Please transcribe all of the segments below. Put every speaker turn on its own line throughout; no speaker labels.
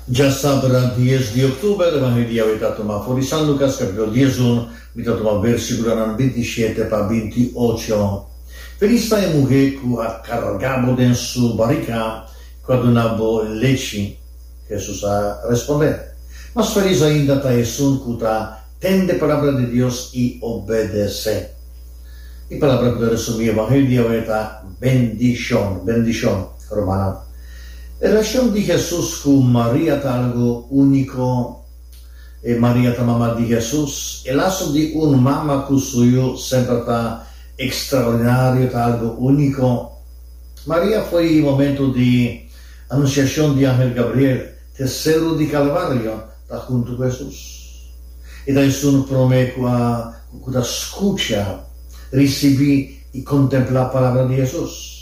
Djasabra dies di òktober, Evangelio di awe ta tuma for di San Lukas kapitulo diesun, mi ta tuma versikulonan bintishete pa bintiocho. Felis ta e muhé ku a karga bo den su barika, ku a duna bo lechi. Hesus a respondé, Mas felis ainda ta esun ku ta tende palabra di Dios i obedesé. E palabra ku ta resumí Evangelio di awe ta bendishon, bendishon. Rumannan, e relashon di Hesus ku Maria ta algu úniko. E Maria ta mama di Hesus. E laso di un mama ku su yu semper ta ekstraordinario, ta algu úniko. Maria foi e momento di anunsiashon di angel Gabriel te Seru di Kalvario ta huntu ku Hesus. E ta esun promé ku a ku ta skucha, risibí i kontemplá palabra di Hesus.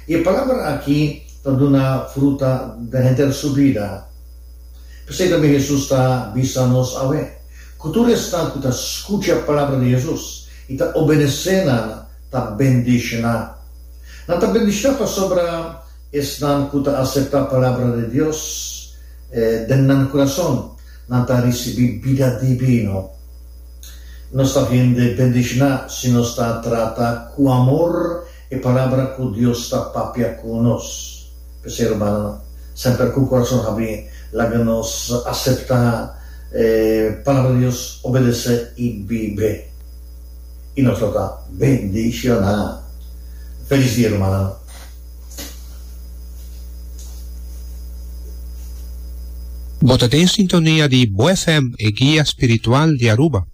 I e palabra aki ta duna fruta den henter su bida. P'esei tambe Hesus ta bisa nos awe, ku tur esnan ku ta skucha palabra di Hesus i ta obedesé nan ta bendishoná. Nan ta bendishoná pasobra esnan ku ta aseptá palabra di Dios den nan kurason, nan ta risibí bida dibino. Nos ta hende bendishoná si nos ta trata ku amor E palabra ku Dios ta papia ku nos. P'esei, rumannan, semper ku kurason habrí, laga nos aseptá e Palabra di Dios, obedesé i bib'é. I nos lo ta bendishoná. Felis dia, rumannan!
Bo ta den sintonia di Bo FM, e guia spiritual di Aruba.